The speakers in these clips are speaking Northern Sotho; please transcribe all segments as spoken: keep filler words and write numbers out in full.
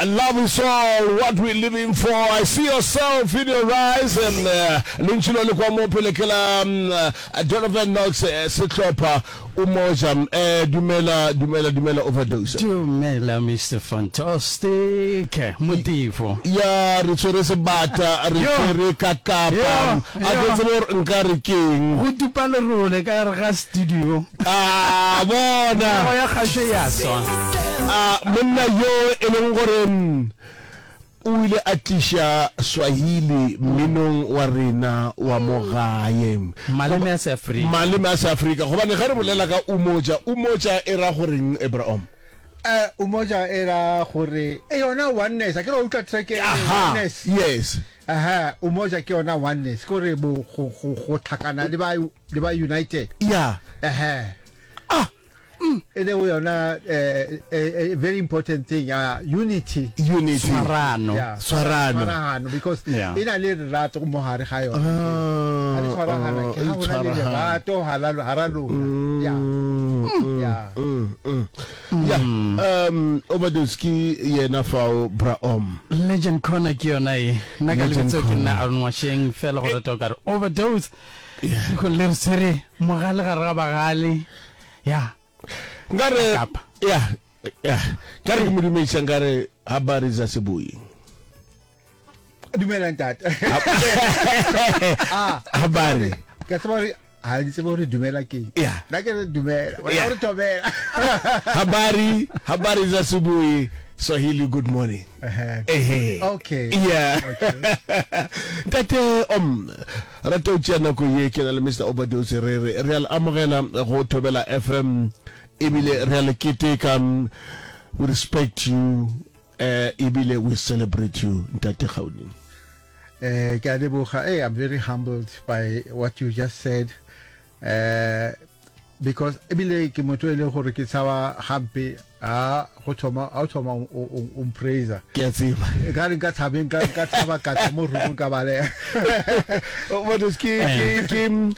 Love is all what we're living for. I see yourself in your eyes. And uh, lentšu lo le kwa mo pele ke la um, uh, Donovan Knox uh, sehlopha Umoja. Eh, dumela, dumela, dumela overdose. Dumela Mister Fantastic Motifo. Ya re tshwere sebata, re tshwere ka kapa. A ke tsebe gore nka re keng. Go tupa lerole ka gare ga studio. A bona. Meago ya kgašo ya swa. A monna yo e leng gore o ile a tliša Swahili mminong wa rena wa mo gae. Maleme a Seafrika. Maleme a Seafrika. Gobane ge re bolela ka Umoja, Umoja e ra goreng, Abraham? Uh, Umoja e ra gore e yona oneness. A ke re wa utlwa track e oneness. Yes. Aha, Umoja ke yona oneness. Ke gore bo go go go tlhakana le ba le ba united. Yeah. Aha. Ah. E le yona eh, eh, very important thing uh, unity. Unity. Tshwarano. Yeah. Tshwarano. Tshwarano because Yeah. e na le lerato mo gare ga yona. Ah, Ha le tshwaragana ah, ke ha e go na le tshwaragana. lerato hala hara lona. Yeah. Mm, Yeah. mm, mm. Yeah. Um, overdose ke yena fao Braom. Legend Corner ke yona e. Nna ka Legend lebitso ke Corner. nna Aaron Washeng fela go rata o ka re overdose. Go le re tshwere mogale gare ga bagale. Ya. Nkare Kapa. ya ya nkare ke mo dumediša nkare habari za sebui. Dumela ntate. Ah, Habari. ke tseba gore ha ke tsebe gore dumela ke. Yeah. Nna ke re dumela. Wena Yeah. o re thobela. Habari, habari za asubuhi. Swahili good morning. Ehe. Ehe. Okay. Yeah. Okay. Ntate om rata o tšea nako ye ke na le Mister Overdose re re re a le amogela go Thobela F M ebile re a le keteka. We respect you eh ebile we celebrate you ntate Gauni. Eh ke a leboga. Hey, I'm very humbled by what you just said. Eh because ebile ke motho e leng gore ke tshaba gampe a go thoma a o thoma o o mpraise. Ke a tseba. E ka re nka tshabeng ka ka tshaba ka tswa mo roomong ka baleha. Overdose ke ke ke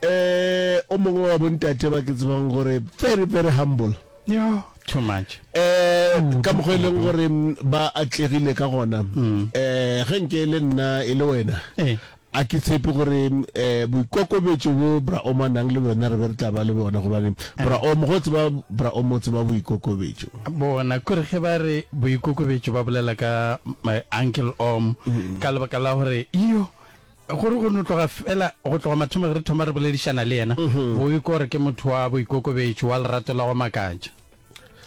eh o mongwe wa bontate ba ke tsebang gore very very humble. Yo, too much. Eh ka mokgwa e leng gore ba atlegile ka gona. Eh ge nke le nna e le wena. Eh. A ke tshepe gore eh boikokobetšo bo Bra Om a nang le bona re be re tla ba le bona gobane Bra Om go tseba Bra Om o tseba boikokobetšo. Bona kore ge ba re boikokobetšo ba bolela ka my uncle Om ka lebaka la gore yo gore go no tloga fela go tloga mathomo re thoma re boledišana le yena go ikwa gore ke motho wa boikokobetšo wa lerato la go makatša.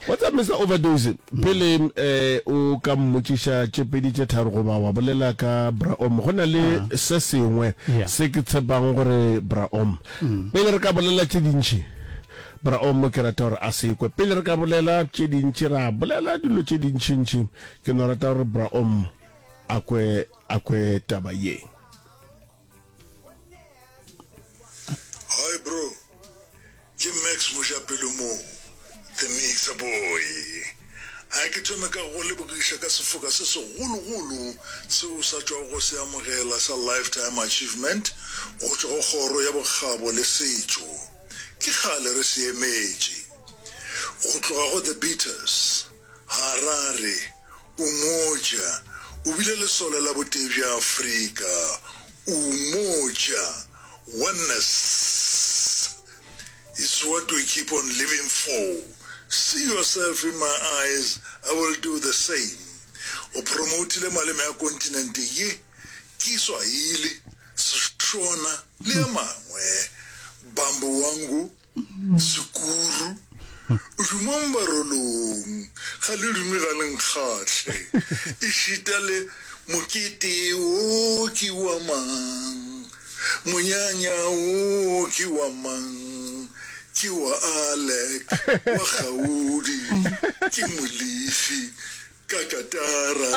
What's up Mister Overdose? Pele eh o ka mmotšiša tše pedi tše tharo goba wa bolela ka Bra Om go na le se sengwe se ke tshepang gore Bra Om pele re ka bolela tše dintši Bra Om ke rata gore a se kwe pele re ka bolela tše dintši ra bolela dilo tše dintšintši ke no rata gore Bra Om a kwe a kwe taba ye. Hi bro, ke Max Mojapelo mo, The Mixer Boy. A ke thome ka go lebogiša ka sefoka se segologolo seo o sa tšwago go se amogela sa Lifetime Achievement go tšwa go Kgoro ya Bokgabo le Setšo. Ke kgale re se emetše. Go tloga go The Beaters, Harare, Umoja, o bile lesole la botee bja Afrika. Umoja, oneness is what we keep on living for. See yourself in my eyes, I will do the same. O promotile maleme a kontinente ye, Kiswahili, Seshona le a mangwe. Bambo wangu, Sekuru, o dumang barolong, ga le dume ga le nkgahle. Ešita le mokete wo ke wa mang, monyanya wo ke wa mang, ke wa Alec, wa Gaudi, ke Molefi, ka katara.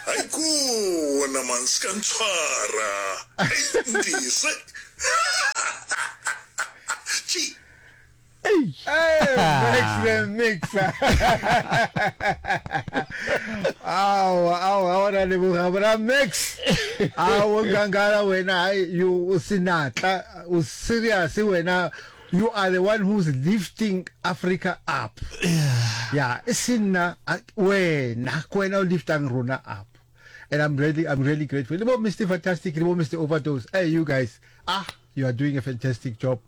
Ai kona man, se ka ntshwara. Ai ntese. Tši. Hey, Max the Mixer. Aowa, aowa, aowa, ra leboga bra Max. Aowa, nkangala wena, hai, you o senatla, o serious wena. You are the one who's lifting Africa up. Yeah, e se nna, wena, ke wena o liftang rona up. And I'm really, I'm really grateful. Le bo Mister Fantastic, le bo Mister Overdose. Hey, you guys, ah, you are doing a fantastic job.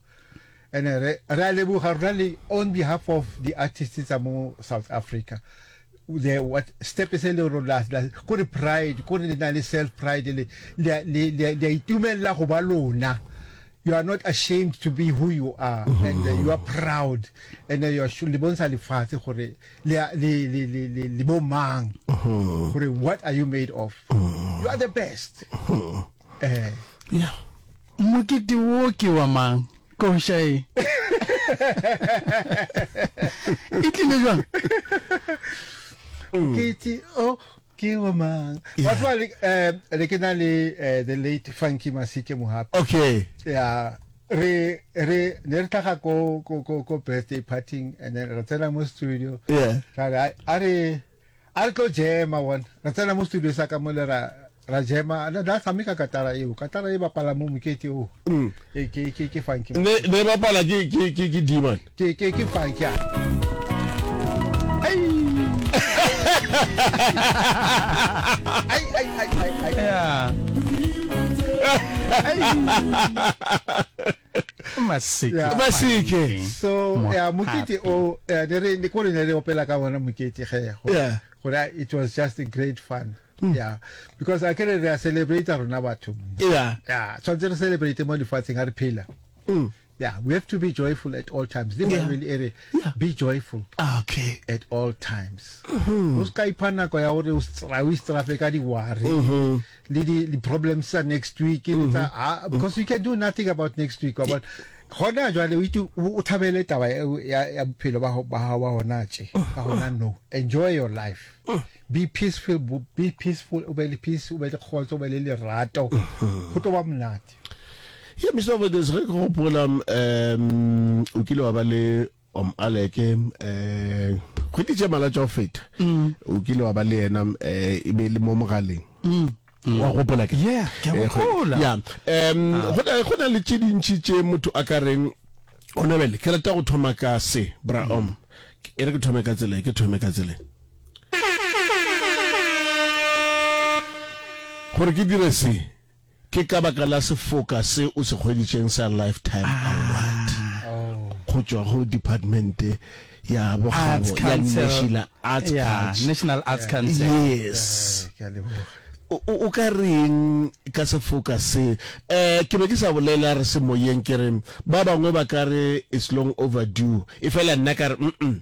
And re, re a leboga rona le on behalf of the artists tsa mo South Africa. The what step se le rona la, kore pride, kore le na le self pride, le, le, le, le, le itumella go ba lona. You are not ashamed to be who you are, mm-hmm. and uh, you are proud, and uh, you are le bontsha lefatshe gore le le le le le bo mang, gore what are you made of? Mm-hmm. You are the best. Mm-hmm. Eh, yeah. Mokete wo ke wa mang? Koša e. E tlile jwang? Mokete o ke wa mang? Batho ba le eh le ke na le the late Funky Masike Mohapi. Okay. Yeah. Re re ne re tlhaga ko ko ko ko birthday party and then re tsena mo studio. Yeah. Ra re a re a re tlo jema one. Re tsena mo studio sa ka mo le ra ra jema na da tshameka katara eo. Katara e bapala mo mokete o. Mm. E ke ke ke Funky. Ne ne bapala ke ke ke ke Demon. Ke ke ke Funky. Ai. Ai ai ai ai ai. Yeah. Masike. Yeah. Masike. So yeah, mokete o ne re ne kore ne re opela ka bona mokete ge go. Yeah. Gore it was just a great fun. Mm. Yeah. Because I can re celebrate rona batho. Yeah. Yeah, tshwantse re celebrate mo lefatsheng ha re phela. Mm. Yeah, we have to be joyful at all times. Le Yeah. Bible e re Yeah. be joyful Okay. at all times. O ska ipha nako ya hore o stra o istrafe ka di-worry Mm-hmm. le di di problems tsa next week le tsa ah, because you can do nothing about next week wa bona. Gona jwale o itse o thabele taba ya ya bophelo ba ba hao ba hona tje ka hona no. Enjoy your life. Be peaceful, be peaceful, o be le peace, o be le kgotso, o be le lerato. Go tlo ba monate. Yeah, Mister Overdose, re ke gopola um o kile wa ba le Om Aleke eh kgwedi tše mala tša go feta. O kile wa ba le yena eh e be le mo mogaleng. Wa gopola ke? Yeah, ke a Eh, gopola. Yeah. Um go na go na le tše dintši tše motho a ka reng o nobele ke rata go thoma ka se bra om. E re ke thome ka tsela, ke thome ka tsela. Gore ke dire se ke ka baka la sefoka se o se hweditšeng sa lifetime award go tšwa go department ya Arts bokgabo ya Council. National Arts Yeah, Council. National Arts Council. Yes. Ke a leboga. O o ka reng ka sefoka se? Eh ke be ke sa bolela re se moyeng ke re ba bangwe ba ka re it's long overdue. E fela nna ka re mm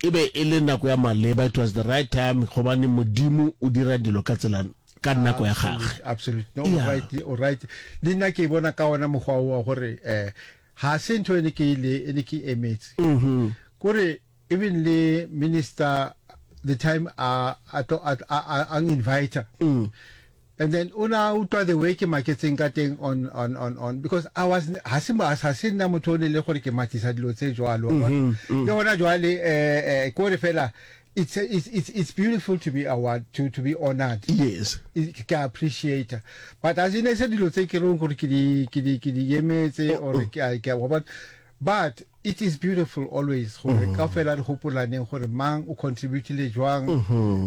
e be e le nako ya maleba, it was the right time gobane Modimo o dira dilo ka tsela ka nako ya gagwe. Absolutely. No, Yeah. right, o right. Le nna ke bona ka ona mokgwa o wa gore eh ha se ntho e ne ke ile e ne ke emetse. Mhm. Kore even le minister the time a a to a a a invite. Mm. And then una utlwa the way ke maketseng ka teng on on on on because I was ha se ha se nna motho o ne le gore ke matisa dilo tse jwalo. Mm-hmm. Le hona jwale eh eh kore fela it's it's it's it's beautiful to be award to to be honored. Yes. Ke appreciate but as in se dilo tse ke reng gore ke di ke di ke di emetse or ke a ke a bona but it is beautiful always gore ka fela re hopolaneng gore mang o contributile jwang,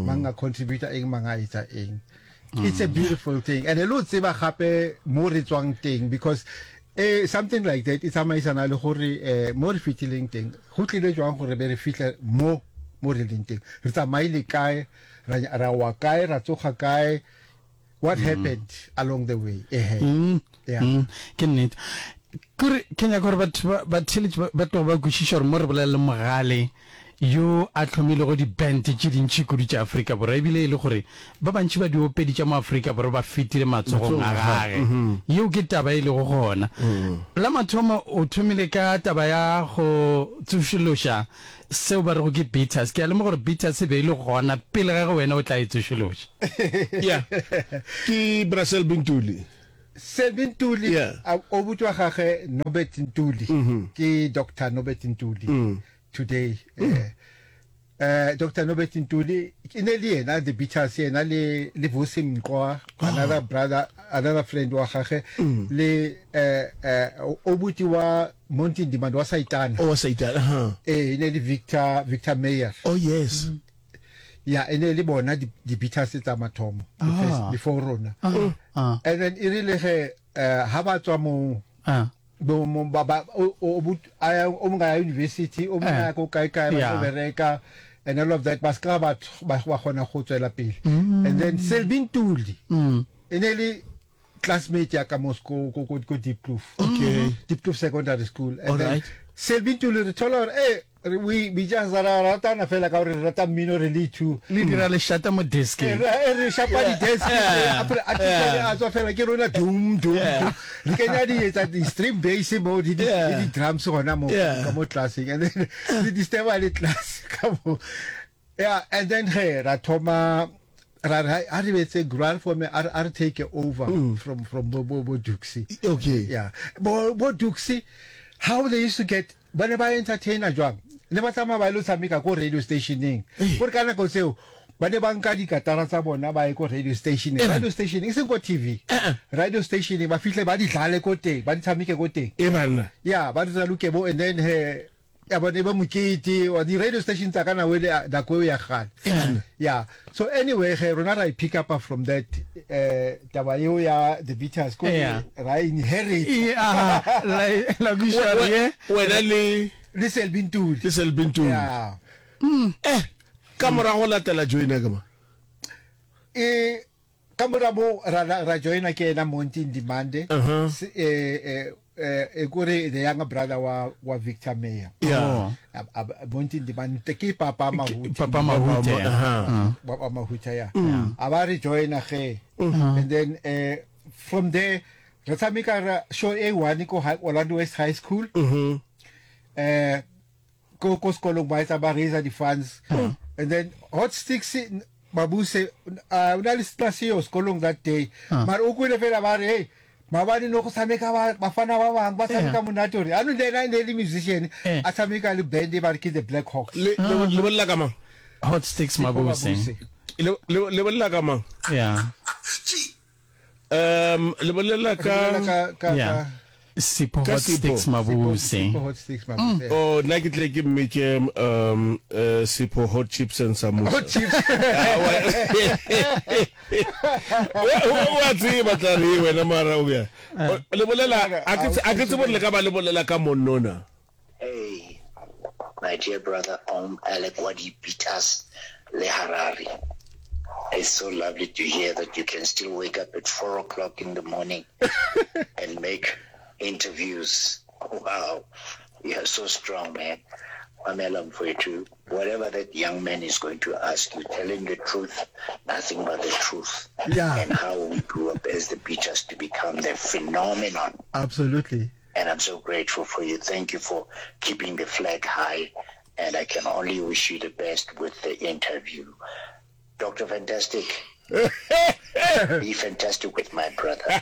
mang a contributa eng, mang a etsa eng. It's a beautiful thing and lo tseba gape mo re tswang teng because eh something like that e tsamaisana le gore eh mo re fitileng teng go tlile jwang gore be re fihle mo mo re leng teng, re tsamaile kae, ra ra wa kae, ra tsoga kae, what happened along the way. Eh Mm. yeah. Mm, ke nnete. Kore ke nyaka gore batho ba ba theletše ba ba tloga ba kwešiša gore mo re bolela le mogale yo a tlhomilego di-band tše dintši kudu tša Afrika Borwa, ebile e le gore ba bantši ba diopedi tša mo Afrika Borwa ba fetile matsogong a gage. Yeo ke taba e lego gona. La mathomo o thomile ka taba ya go tsošološa seo ba rego ke Beaters. Ke a lemoga gore Beaters e be e le gona pele ga ge wena o tla e tsošološa. Yeah. Ke Brussel Bintuli. Selvin Ntuli, Yeah. o butwa gage Norbert Ntuli. Ke Doctor Norbert Ntuli today. Eh Eh Doctor Nobert Ntuli e ne le yena the Beaters yena le le Vusi Mqwa another brother another friend wa gage le eh eh obuti wa Monty Ndimande wa Saitana. Oh wa Saitana ha. Eh e ne le Victor Victor Meyer. Oh yes. Ya e ne le bona di di Beaters tsa mathomo the first before rona. Ah. And then e rile ge eh ha ba tswa mo Ah. bo mo ba ba o o o a o mongwe a ya university o mongwe a ya ko kae kae ba Yeah. tlo bereka and all of that ba ska ba ba ba kgona go tswela pele and then Selby Ntuli e ne le classmate ya ka mo ko ko ko ko Diepkloof Okay. Diepkloof Secondary School and All then right. Selby Ntuli re thola gore eh re- we we just ra ratana fela ka gore re rata mmino re le two Le dira lešata mo e deskeng. re e re shapa di-desk Yeah. a a Yeah. a tswa fela ke rona dum dum dum re kenya di etsa di-stream bass mo di di Yeah. le di-drums gona mo Yeah. ka mo classeng and then le disturba le class ka mo yeah and then ge ra thoma ra re a re betse ground for me a re- a re take over from from bo bo bo Duxie Okay. yeah bo bo Duxie how they used to get ba ne ba entertainer jwang ne ba tsamaya ba ile tshameka ko radio stationeng gore ka nako tseo ba ne ba nka dikatara tsa bona ba ye ko radio stationeng radio station e seng ko tv radio stationeng ba fihle ba di dlale ko teng ba di tshameke ko teng E banna. ya ba di tsaloke bo and then he ya bone ba mokete wa di radio station tsa ka nako ele nako eo ya kgale yeah so anyway ge rona ra e pick up from that eh taba eo ya the Beatles ko Yeah. ra inherit E, ah, la la kwešiša re ye. Wena le le Selby Ntuli le Selby Ntuli. yeah Eh ka morago latela joina ka ma. e ka mora mo ra ra ra joina ke ena Monty Ndimande Uh-huh. Se- eh eh eh e kore the younger brother wa wa Victor Meyer Yeah. Oh. Ab- ab- Monty Ndimande ke papa Mahuti Papa Mahute. Aha. wa wa Mahuta ya a ba re joina ge and then eh from there re tshameka ra show e one ko High- Orlando West High School Mhm. eh ko ko sekolong ba etsa ba raise di-funds and then hot sticks mabuse uh, o na le class eo sekolong that day mara o kwele fela ba re hey maabane no go tshameka ba- bafana ba bangwe ba tshameka monate gore anong le ena e ne e le musician Eh. a tshameka le band e ba re ke the black hawks Le le le bolela ka mang? Hot sticks Mabuse. Mabuse. Le le le bolela ka mang? Yeah. Um le bolela Re bolela ka ka ka Yeah. ka Sipho Ka Hot Sipho. Sticks Mabuse. Sipho hot sticks mabuse Oh nna ke tle ke mmitše um eh, Sipho hot chips and samosa. hot chips O a tseba tla re wena mara o bjang. Le bolela a ke tse- a ke tsebe gore le ka ba le bolela ka monnona. Hey, my dear brother Om Alec Wadi Peters Le Harari. It's so lovely to hear that you can still wake up at four o'clock in the morning and make interviews. Wow, you are so strong, man. Mamela mfowethu, whatever that young man is going to ask you, tell him the truth, nothing but the truth. Yeah. And how we grew up as the Beatles to become the phenomenon absolutely and I'm so grateful for you. Thank you for keeping the flag high, and I can only wish you the best with the interview. Doctor Fantastic, be fantastic with my brother.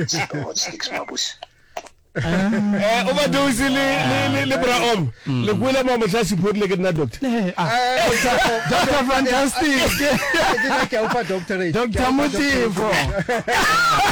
Sipho Hot Sticks Mabuse. Eh overdose le le le le bra om. Le kwele mo mohla Sipho le ke nna doctor. Eh, ah, Doctor Fantastic. ke nna ke a o fa doctorate Doctor Motifo.